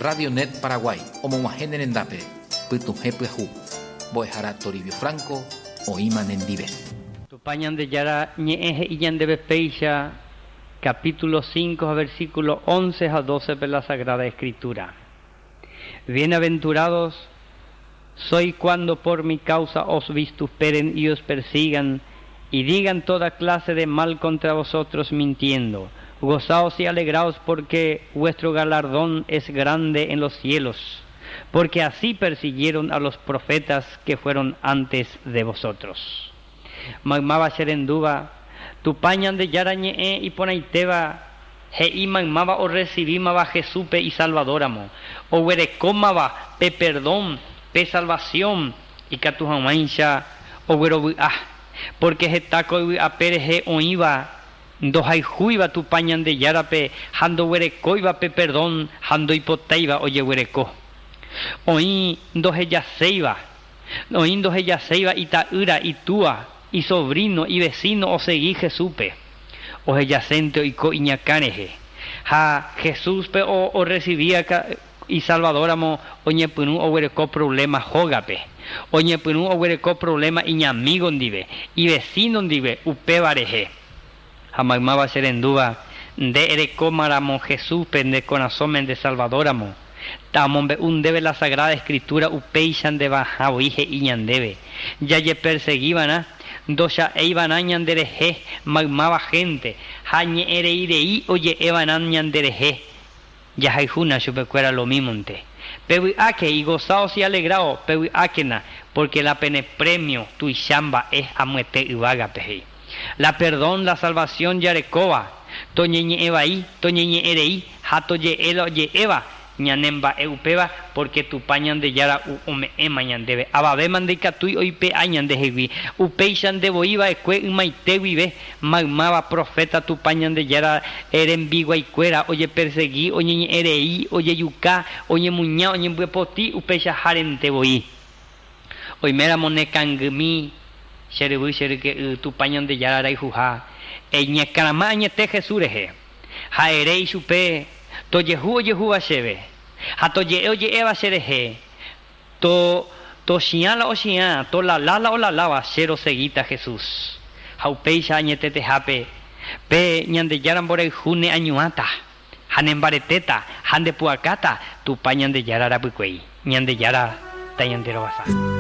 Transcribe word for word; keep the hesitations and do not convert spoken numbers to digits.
Radio Net Paraguay, omog̃uahẽ ne rendápe, pytuhẽ pyahu, mbo'ehára Toribio Franco, oĩma nendive. Tupã Ñandejára ñe'ẽ he'i ñandéve péicha capítulo cinco, versículo once a doce de la Sagrada Escritura. Bienaventurados sois cuando por mi causa os vituperen y os persigan y digan toda clase de mal contra vosotros mintiendo. Gozaos y alegraos porque vuestro galardón es grande en los cielos, porque así persiguieron a los profetas que fueron antes de vosotros. Maymáva cherendúva, Tupã Ñandejára ñe'ẽ iporãitéva he'i maymáva orecibímava Jesúspe y Salvadoramo, oguerekómava pe perdón, pe salvación, ikatu hag̃uáicha oguerovy'a, porque heta ko yvy'ape rehe oĩva ndohayhúiva Tupã Ñandejárape ha ndoguerekóiva pe perdón ha ndoipotáiva ojeguereko. Oĩ ndohejaséiva, oĩ ndohejaséiva ita'ýra, itúa, isobrino, ivecino osegi Jesúspe. Ohejasénte oiko iñakã rehe. Ha Jesúspe o, orecibía y Salvadoramo oñepyrũ oguereko problema hógape. Oñepyrũ oguereko problema iñamigo ndive, ivecino ndive, upéva rehe. Ha maymáva cherendúva, nde erekómaramo Jesúspe nde korasõme nde Salvadoramo. Tamombe'u ndéve la Sagrada Escritura upéicha ndevahã voi he'i ñandéve. Jajeperseguivarã, ndocha'eiva'erã ñanderehe maymáva gente, ha ñe'ẽreirei oje'eva'erã ñanderehe. Jahayhúna chupekuéra lo mímonte. Pevy'áke y gozaos y alegraos, pevy'ákena, porque la pene premio tuicha mba'e amuete yvágape he'i. La perdón, la salvación jarekóva, toñeñe'ẽvai, toñeñe'ẽrei, ha toje'e la oje'éva, ñane mba'e upéva, porque Tupã Ñandejára ome'ẽma ñandéve. Avavéma ndaikatúi oipe'a ñandehegui. Upéicha ndevoiva'ekue ymaite guive, maymáva profeta Tupã Ñandejára rembiguaikuéra ojepersegui, oñeñe'ẽrei, ojejuka, oñemuña, oñembyepoti, upéicha járente voi. Oiméramo nekangymi, che ryvy, che ryke'y, Tupã Ñandejára rayhuha, eñekarama añete Jesús rehe. Ha ere ichupe, tojehu ojehúva chéve, ha toje'e oje'éva cherehe, to tochiã la ochiã, tolalá la olaláva, che roseguíta Jesús. Ha upéicha añetetehápe, pe Ñandejára mborayhu neañuãta, ha nembaretéta, ha ndepu'akáta, Tupã Ñandejára rapykuéi. Ñandejára tañanderovasa.